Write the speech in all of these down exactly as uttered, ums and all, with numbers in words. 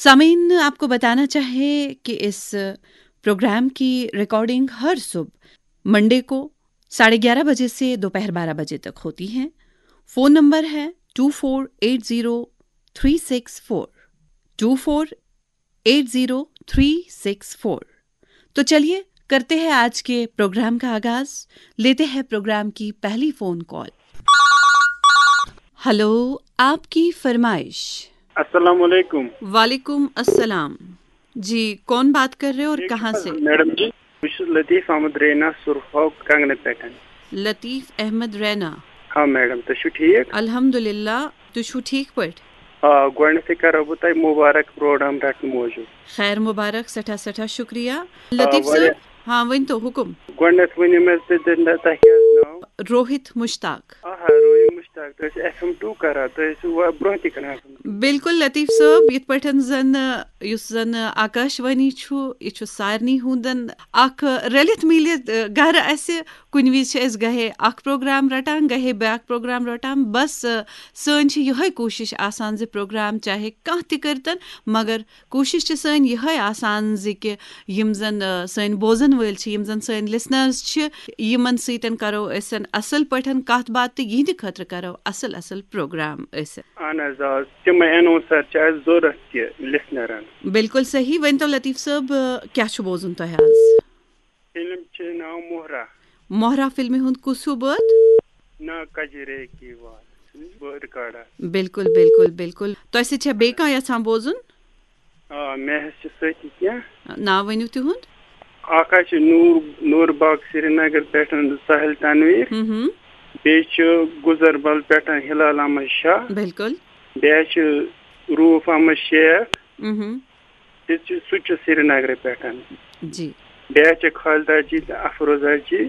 सामीन, आपको बताना चाहे कि इस प्रोग्राम की रिकॉर्डिंग हर सुबह मंडे को साढ़े ग्यारह बजे से दोपहर बारह बजे तक होती है। फोन नंबर है two four eight zero three six four, two four eight zero three six four. तो चलिए, करते हैं आज के प्रोग्राम का आगाज। लेते हैं प्रोग्राम की पहली फोन कॉल। हेलो, आपकी फरमाइश। السلام علیکم۔ वालेकुम अस्सलाम। जी, कौन बात कर रहे हो और कहाँ से? میڈم جی، بہٕ چھُس لطیف احمد رینا، سُرہو کنگنہٕ پٮ۪ٹھ۔ लतीफ अहमद रैना। ہاں میڈم، تُہۍ چھِو ٹھیٖک؟ الحمدللہ، تُہۍ چھِو ٹھیٖک پٲٹھۍ؟ آ، گۄڈٕنٮ۪تھٕے کرو بہٕ تۄہہِ مُبارک پروگرام رٹنہٕ موٗجوٗب۔ خیر مبارک، سٮ۪ٹھاہ سٮ۪ٹھاہ شُکریہ۔ لطیف واریاہ- صٲب، ہاں، ؤنۍ تو حُکُم۔ گۄڈٕنٮ۪تھ ؤنِو مےٚ تُہۍ، تُہۍ، تۄہہِ کیٛاہ حظ ناو؟ روہِت مُشتاق۔ آہا، روحی مُشتاق، تُہۍ ٲسِو ایف ایم ٹوٗ کران، تُہۍ ٲسِو وا-، برٛونٛہہ تہِ کران ایف ایم ٹوٗ۔ بِلکُل لطیف صٲب، یِتھ پٲٹھۍ زن، یُس زن آکاش وانی چھُ، یہِ چھُ سارنٕے ہُنٛدن اکھ رٔلِتھ میٖلِتھ، ٲ، گرٕ اَسہِ۔ کُنہِ وِزِ چھِ أسۍ گاہے اکھ پروگرام رٹان، گاہے بیٛاکھ پروگرام رٹان۔ بس، ٲ، سٲنۍ چھِ یِہوٚے کوٗشِش آسان زِ پروگرام چاہے کانٛہہ تہِ کٔرتن، مگر کوٗشِش چھِ سٲنۍ یِہوٚے آسان زِ کہِ یِم زن، ٲ، سٲنۍ بوزن وٲلۍ چھِ، یِم زن سٲنۍ لسنرز چھِ، یِمن سۭتۍ کرو أسۍ اصل پٲٹھۍ کتھ باتھ تہٕ یِہنٛدِ خٲطرٕ کرو اصل اصل پروگرام أسۍ۔ اہن حظ، آ، تِمے اناؤنسر چھِ اَسہِ ضوٚرتھ تہِ لسنرن۔ بِلکُل صحیح۔ ؤنۍ تو لطیف صٲب، ٲ، کیٛاہ چھُ بوزُن تۄہہِ آز؟ فلم چھِ ناو مۄہرا۔ مۄہرا فلمہِ ہُنٛد کُس ہیوٗ بٲتھ؟ نا کجرے کی وات، بہٕ رِکارڈا۔ بِلکُل، بِلکُل، بِلکُل۔ تۄہہِ سۭتۍ چھا بیٚیہِ کانٛہہ یژھان بوزُن؟ آ، مےٚ حظ چھِ سۭتی کینٛہہ۔ ناو ؤنِو تِہُنٛد۔ اکھ حظ چھِ نوٗر، نوٗر باغ سرینگر پٮ۪ٹھ ساحل تنویر۔ ہم ہم۔ بیٚیہِ چھِ گُزربل پٮ۪ٹھ ہلال احمد شاہ۔ بِلکُل۔ بیٚیہِ حظ چھِ روٗف احمد شیخ۔ ہم ہم۔ تہِ چھِ، سُہ تہِ چھُ سرینگرٕ پٮ۪ٹھ۔ جی۔ بیٚیہِ حظ چھِ خالدہ جی تہٕ افروزہ جی۔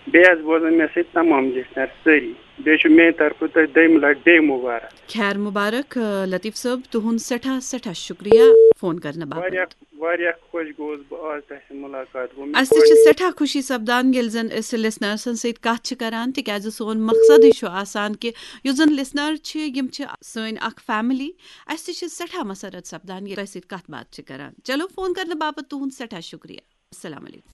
بیٚیہِ حظ بوزان مےٚ سۭتۍ تمام لسنر سٲری۔ بیٚیہِ چھُ میٛانہِ طرفہٕ تۄہہِ دوٚیمہِ لٹہِ بیٚیہِ مُبارک۔ خیر مبارک، آ، لطیف صٲب، تُہُنٛد سٮ۪ٹھاہ سٮ۪ٹھاہ شُکریہ فون کرنہٕ باپتھ۔ واریاہ، واریاہ خۄش گوٚوُس بہٕ آز تۄہہِ سۭتۍ مُلاقات گوٚو مےٚ اَسہِ تہِ چھِ سٮ۪ٹھاہ خوشی سپدان ییٚلہِ زن أسۍ لسنرسن سۭتۍ کتھ چھِ کران، تِکیازِ سون مقصدٕے چھُ آسان کہِ یُس زن لسنر چھِ، یِم چھِ سٲنۍ اکھ فیملی۔ اَسہِ تہِ چھِ سٮ۪ٹھاہ مسرت سپدان ییٚلہِ تۄہہِ سۭتۍ کتھ باتھ چھِ کران۔ چلو، فون کرنہٕ باپتھ تُہُنٛد سٮ۪ٹھاہ شُکریہ۔ السلام علیکم۔